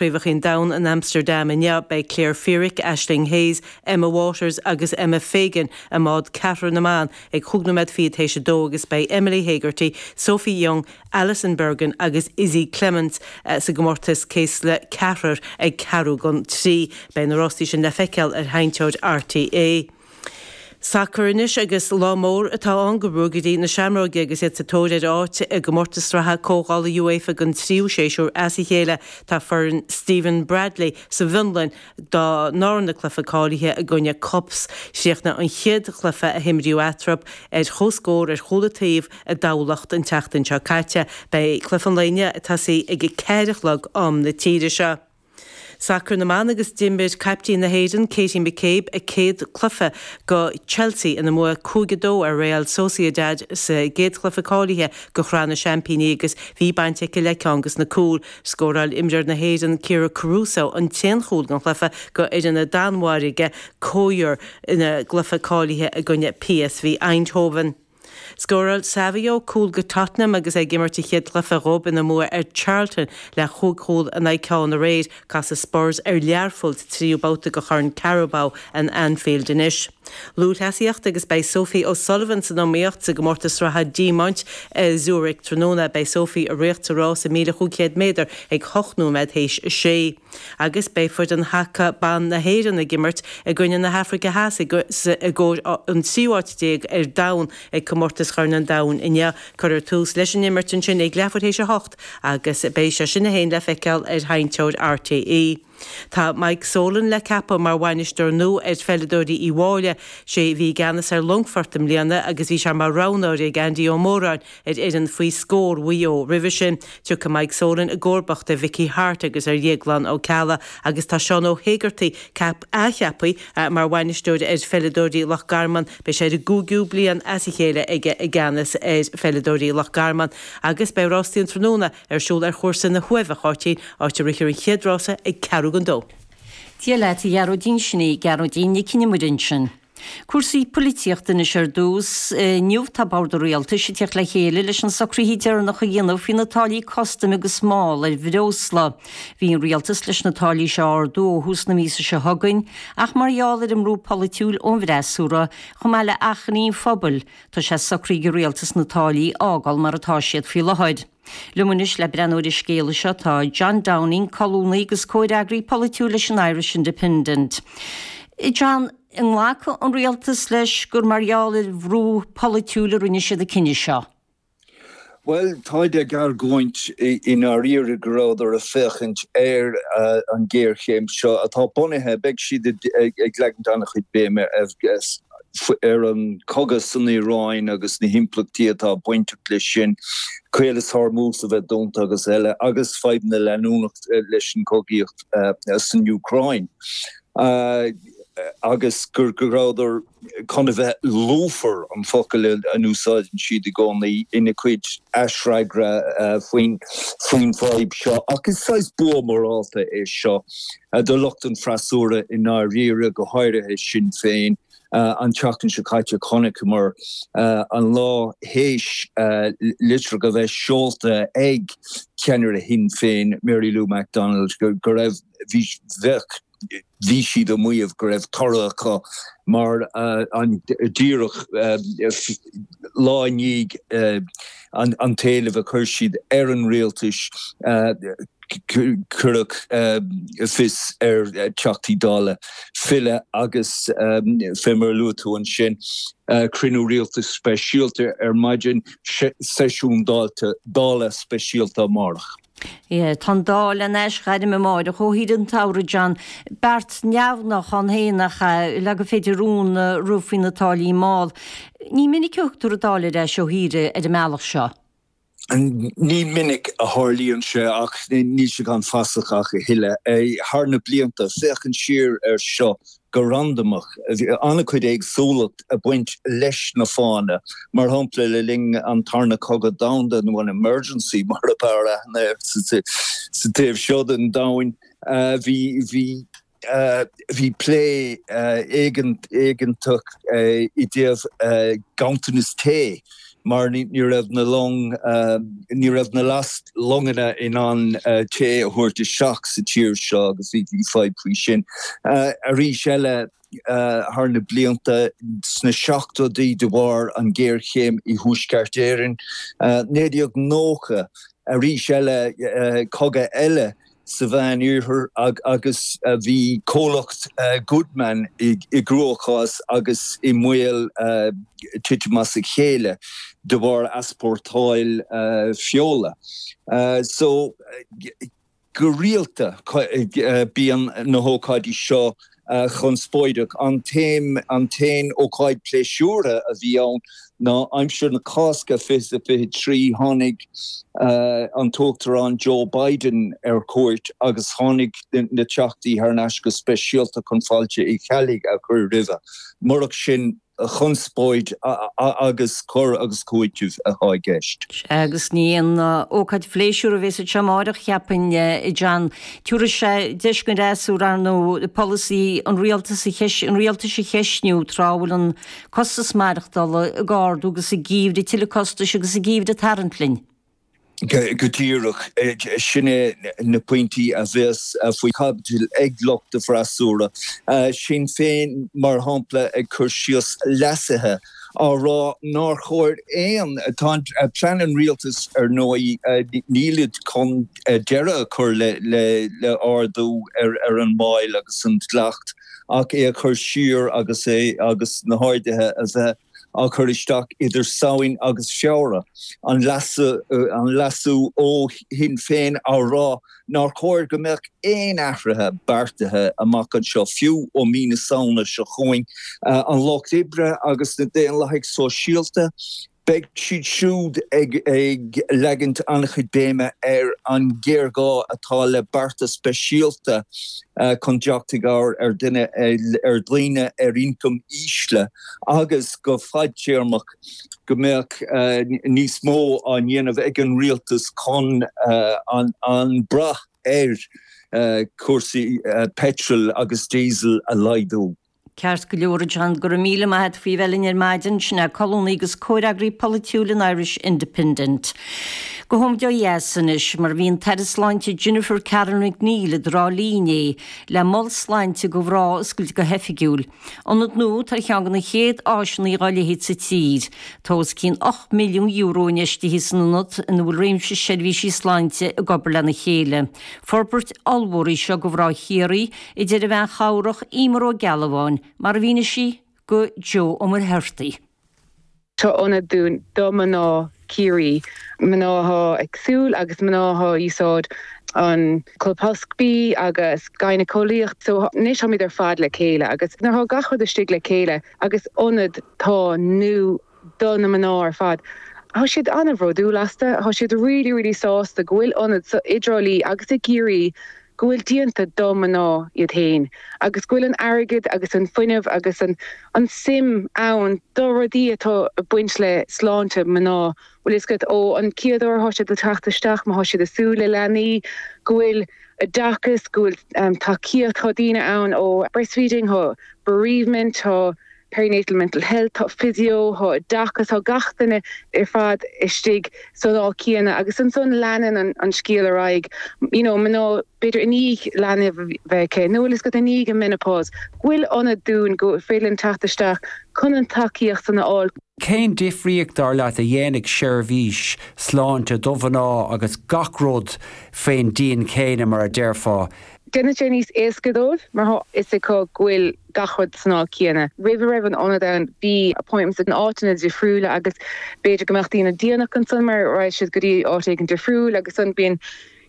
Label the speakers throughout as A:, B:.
A: Craobhacha an Domhain in Amsterdam inniu, beidh Claire Feerick, Aisling Hayes, Emma Waters agus Emma Fagan i mbád ceathrar na mban ag chúig nóiméad fichead théis a dó agus beidh Emily Hegarty, Sophie Young, Alison Bergin agus Izzy Clements sa gcomórtas céasla ceathrar ag ceathrú don trí. Beidh na rástaí sin le feiceáil ar sheinnteoir RTÉ. Sacar anois agus lá mór atá ann do Ruagairí na Seamróige agus iad sa tóir ar áit i gcomórtas sraithe comhdhála UEFA don tríú séasúr as a chéile. Tá foireann Stephen Bradley sa bhFionlainn dá ndarna cluiche cáilithe i gcoinne KuPS. Chríochnaigh an chéad chluiche a himríodh eatarthu ar comhscór ar chúl an taobh i dTamhlacht an tseachtain seo caite. Beidh cluiche an lae inniu ag tosaí ag a 4 a chlog am na tíre seo. Sacar na mban agus d'imir caiptín na hÉireann, Katie McCabe, a céad cluiche do Chelsea ina mbua 5-2 ar Real Sociedad sa gcéad chluiche cáilithe do Shraith na Seaimpíní agus bhí baint aici le ceann de na cúil. Scóráil imreoir na hÉireann, Kyra Caruso, an t-aon chúl den chluiche do fhoireann na Danmhairge, Køge, ina gcluiche cáilithe i gcoinne PSV Eindhoven. Scóráil Savio cúl do Tottenham agus é ag imirt a chéad chluiche dhóibh ina mbua ar Charlton le chúig chúl in aghaidh ceann aréir. Casfaidh Spurs ar Learpholl sa tríú babhta de Chorn Carabao in Anfield anois. Lúthchleasaíocht agus beidh Sophie O'Sullivan san iomaíocht sa gcomórtas sraithe Diamaint i Zurich tráthnóna. Beidh Sophie ag ritheacht sa rás 1,500 méadar ag 8 nóiméad théis a sé. Agus beidh foireann haca ban na hÉireann ag imirt i gcoinne na hAfraice Theas i gcomhair an tríú háit déag ar domhan ag Comórtas Chorn an Domhain inniu. Cuirfear tús leis an imirt ansin ag leathuair théis a hocht agus beidh sé sin féin le feiceáil ar sheinnteoir RTÉ. Tá Mike Solan le ceapadh mar bhainisteoir nua ar pheileadóirí Uí Mháille. Sé a bhí i gceannas ar Longfort i mbliana agus bhí sé mar roghnóir ag Andy Ó Móráin ar fhoireann faoi scór Mhaigh Eo roimhe sin. Tiocfaidh Mike Solan i gcomharbacht ar Mhickey Harte agus ar Dhéaglán Ó Ceallaigh agus tá Seán Ó hÉigeartaigh athcheaptha mar bhainisteoir ar pheileadóirí Loch Garman. Beidh sé ar an gcúigiú bliain as a chéile aige i gceannas ar pheileadóirí Loch Garman agus beidh rástaí an tráthnóna ar siúl ar chúrsa na hUaimhe, a Cháitín, áit a rithfear an chéad rása ag ceathrú don dó.
B: Dia leat, a Ghearóidín, sin í Gearóidín Nic Con Iomaire ansin. Cúrsaí poilitíochta anois ar dtús. Inniu tá Bord an Rialtais ag teacht le chéile leis na socruithe deireanacha a dhéanamh faoi na táillí custaim agus máil ar bhreosla. Bhí an Rialtas leis na táillí seo a ardú ó thús na míosa seo chugainn ach mar gheall ar an mbrú polaitiúil ón bhfreasúra, chomh maith le achainí an phobail, tá sé socraithe ag an Rialtas na táillí a fhágáil mar atá siad faoi láthair. Liom anois le breathnú ar an scéala seo tá John Downing, colúnaí agus comhfhreagraí polaitiúil leis an Irish Independent. John, an nglacfaidh an rialtas leis gur mar gheall ar bhrú polaitiúil a rinne siad an cinneadh seo?
C: Bhuel, táid ag argóint i ndáiríre go rabhadar ag féachaint ar an ghéarchéim seo atá bunaithe, beidh siad ag leagaint an-chuid béime ar ar an chogadh san Iaráin agus na himpleachtaí atá bainteach leis sin, Caolas Hormuz a bheith dúnta agus eile, agus fadhbanna leanúnach leis an chogaíocht san Úcráin, agus go rabhadar chun a bheith lúfar, an focal a n-úsáideann siad i gcónaí, ina gcuid aisfhreagra faoin bhfadhb seo. Ach is saghas bua morálta é seo do lucht an freasúra i ndáiríre, go háirithe Sinn Féin. An tseachtain seo caite chonaiceamar an lá théis litreacha a bheith seolta ag ceannaire Shinn Féin, Mary Lou McDonald, go raibh, bhí, bheadh, bhí siad ag maíomh go raibh toradh acu mar an díreach lá i ndiaidh an t-éileamh a chuir siad ar an rialtas cuireadh fios ar Theachtaí Dála filleadh agus fé mar a luaigh tú ansin, cruinniú rialtais speisialta ar maidin, seisiún Dála speisialta amárach.
B: Tá an Dáil in aisghairm amáireach ó shaoire an tsamhraidh, John. Beart neamhghnách ann féin nach ea, le gur féidir rún a rith faoi na táillí máil. Ní minic a thugtar an Dáil ar ais ó shaoire ar an mbealach seo.
C: Ní minic a tharlaíonn sé ach níl sé gan fasach ach a thuilleadh. Thar na blianta, féachaint siar air seo go randamach, bhí an-chuid éagsúlacht ag baint leis na fáthanna. Mar shampla, le linn an Tarna Cogadh Domhanda, nó an Emergency mar ab fhearr aithne air sa taobh seo den domhain, bhí, bhí, Bhí plé éigeantach i dtaobh ganntanas tae. mar ní raibh na long, ní raibh na last-longanna in ann tae a thabhairt isteach sa tír seo agus bhí fadhb faoi sin. Arís eile, thar na blianta, sna seachtóidí de bharr an ghéarchéim i Thuaisceart Éireann, 1990, arís eile, cogadh eile sa Mheán Oirthear agus bhí comhlacht Goodman i gcruachás agus i mbaol titim as a chéile de bharr easpórtáil feola. So, go rialta bíonn na hócáidí seo conspóideach. An t-aon ócáid pléisiúrtha a bhí ann ná aimsir na Cásca 2023, tháinig an tUachtarán Joe Biden ar cuairt agus tháinig na Teachtaí thar n-ais go speisialta chun fáilte Uí Cheallaigh a chur roimhe. Murach sin, chonspóid agus cur agus cúiteamh atá i gceist.
B: Sea, agus ní aon ócáid phléisiúir a bheas anseo amáireach, cheapfainn, a John. Tabharfaidh sé deis don fhreasúra, ar ndóigh, polasaí an rialtais a an rialtais a cheistniú tráth a bhfuil an costas maireachtála ag ardú agus an geimhreadh, tuilleadh costais agus an geimhreadh ag tarraingt linn.
C: Go díreach. Sin é na pointí a bheas faoi chaibidil ag lucht an fhreasúra. Sinn Féin, mar shampla, ag cur síos leasuithe á rá nár chóir aon, tá plean an rialtais ar ndóigh, nílid chun deireadh a chur le ardú ar an máil agus an dleacht ach é a chur siar agus é agus na harduithe a bheith á chur isteach idir Samhain agus Feabhra, an leasú ó Shinn Féin á rá nár chóir go mbeadh aon athruithe beartaithe amach anseo, fiú ó mí na Samhna seo chugainn. An Lucht Oibre agus na Daonlathaigh Sóisialta, beidh siad siúd ag leagaint an-chuid béime ar an ghéarghá atá le bearta speisialta chun teacht i gcabhair ar duine, ar dhaoine ar ioncam ísle. agus go fadtéarmach go mbeadh níos mó á ndéanamh ag an rialtas chun an brath ar chúrsaí peitril agus díosail a laghdú.
B: Ceart go leor, a John, go raibh míle maith agat faoi bheith linn ar maidin. Sin é colúnaí agus comhfhreagraí polaitiúil an Irish Independent. Gabhfaimid ó dheas anois, mar bhí an tAire Sláinte Jennifer Carroll MacNeill i dTrá Lí inné le Mol Sláinte do Mhná a oscailt go hoifigiúil. Ionad nua atá ar cheann de na chéad áiseanna dá leithéid sa tír. Tá os cionn €8 milliún infheistithe san ionad ina bhfuil réimse seirbhísí sláinte ag obair lena chéile. Forbairt ollmhór í seo do mhná Chiarraí, a deir an bhean chabhrach Emer Ó Gealbháin, mar a mhínigh sí do Joe Ó Muircheartaigh.
D: Tá ionad dúinn do mná Ciarraí, mná athá ag súil agus mná athá úsáid an colposcopy agus gynaecoleacht so anois táimid ar fad le chéile agus nuair athá gach rud istigh le chéile agus ionad tá nua do na mná ar fad thá siad an-bhródúil astu, thá siad really really sásta go bhfuil ionad so i dTrá Lí agus i gCiarraí go bhfuil déanta do mná iad féin agus go bhfuil an airgead agus an fuinneamh agus an an suim ann do rudaí atá ag baint le sláinte mná, bhfuil fhios agat, ó an chéad uair athá siad ag teacht isteach, má thá siad ag súil le leanaí, go bhfuil oideachas, go bhfuil tacaíocht, tá daoine ann ó breastfeeding, thá bereavement, tá. perinatal mental health, tá physio, tá oideachas, tá gach duine ar fad istigh san áit céanna agus ansan leanann an scéal ar aghaidh, you know, mná b'fhéidir i ndiaidh leanbh a bheith aici nó bhfuil fhios agat i ndiaidh an menopause, go bhfuil ionad dúinn go féidir linn teacht isteach chun an tacaíocht san a fháil.
E: Cén difríocht, dar leat, a dhéanfaidh seirbhís sláinte do mhná agus gach rud faoin díon céanna, mar a déarfá?
D: Déanann sé níos éasca dóibh mar thá fhios acu go bhfuil gach rud san áit céanna. Roimh a raibh an ionad ann bhí appointments in áiteanna difriúla agus b'fhéidir go mbeadh daoine déanach ansan mar raghaidh siad go dtí áit éigin difriúil agus ansan bíonn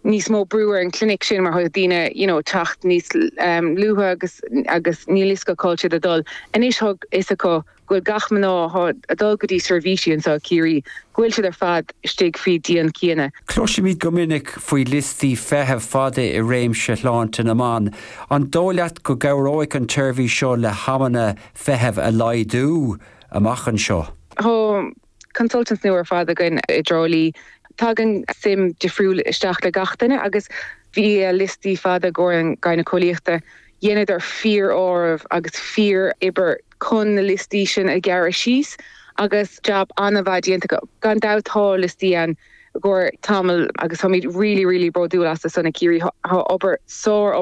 D: níos mó brú ar an clinic sin mar thá daoine you know teacht níos luaithe agus agus níl fhios acu cá bhfuil siad ag dul. Anois thá fhios acu go bhfuil gach mná athá ag dul go dtí seirbhísí anseo i Ciarraí, go bhfuil siad ar fad istigh faoi díon céanna.
E: Cloisimid go minic faoi liostaí feithimh fada i réimse shláinte na mban. An dóigh leat go gcabhróidh an tseirbhís seo le hamanna feithimh a laghdú amach anseo?
D: Tá consultants nua ar fad againn i dTrá Lí. Tagann suim difriúil isteach le gach duine agus bhí liostaí fada i gcomhair an gynaecoleachta. Dheineadar fíor-áireamh agus fíor-obair chun na liostaí sin a ghearradh síos. Agus jab an-mhaith déanta acu. Gan dabht tá liostaí ann i gcomhair tamall agus táimid really really bródúil as san i Ciarraí. Tá obair, sár obair.